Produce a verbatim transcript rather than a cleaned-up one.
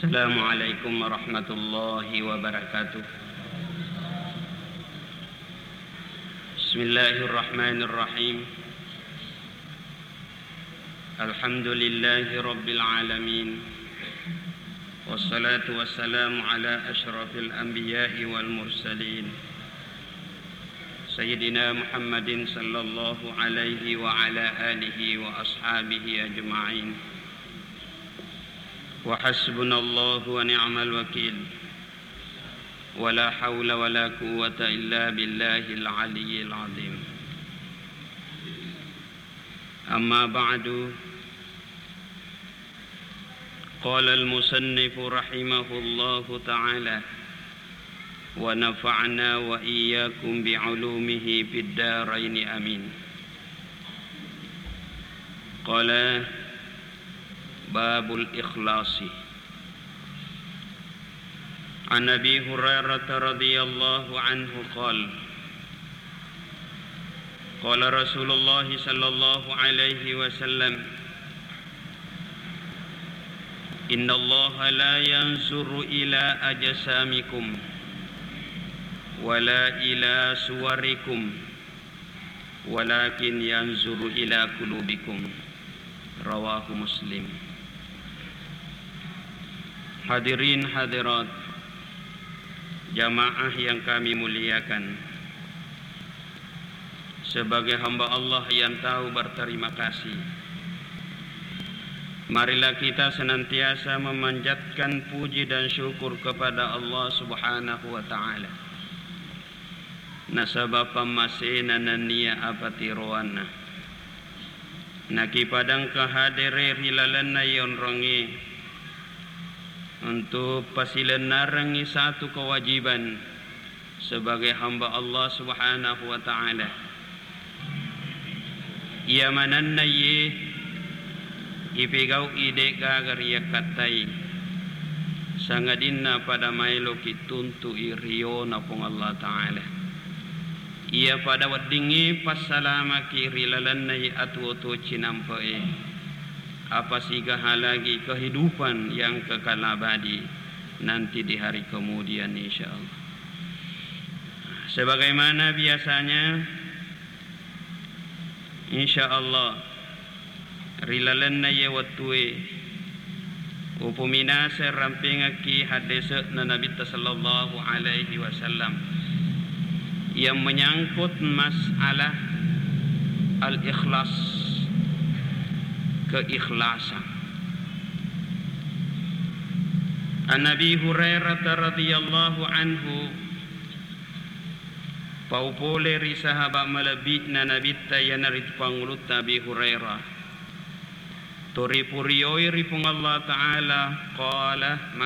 السلام عليكم ورحمة الله وبركاته. بسم الله الرحمن الرحيم. الحمد لله رب العالمين. والصلاة والسلام على أشرف الأنبياء والمرسلين. سيدنا محمد صلى الله عليه وعلى آله وأصحابه أجمعين. وحسبنا الله ونعم الوكيل. ولا حول ولا قوة إلا بالله العلي العظيم. أما بعد، قال المصنف رحمه الله تعالى، ونفعنا وإياكم بعلومه في الدارين آمين. قال: باب الإخلاص. عن أبي هريرة رضي الله عنه قال: قال رسول الله صلى الله عليه وسلم: إن الله لا ينظر إلى أجسامكم ولا إلى صوركم ولكن ينظر إلى قلوبكم. رواه مسلم. Hadirin hadirat, jamaah yang kami muliakan, sebagai hamba Allah yang tahu berterima kasih, marilah kita senantiasa memanjatkan puji dan syukur kepada Allah Subhanahu wa Ta'ala. Nasaba pammasena nennia apatiroanna. Nakipadangka hadere ri lalenna yonrongnge untuk pasilennarengngi satu kewajiban sebagai hamba Allah Subhanahu wa Ta'ala. Iya manenna iye ipegau'i de'gaga riyakkattai, sangadinna pada maeloki tuntu'i riyona Puang Allah Ta'ala. Iya pada weddingnge passalamaki ri lalenna atuwo-tuwo cinampe'e, apa sigaha lagi kehidupan yang kekal abadi nanti di hari kemudian, insya Allah. Sebagaimana biasanya, insya Allah, ri lalenna iye wettue, upominaseng rampengekki haddese'na Nabitta sallallahu alaihi wasallam yang menyangkut masalah al-ikhlas, keikhlasan. An Abi Hurairah radhiyallahu anhu, pau pole ri sahaba malebbi'na Nabitta, iyanaritu pangulutta Abi Hurairah, to ripurioi ri Puang Allah Ta'ala, qala,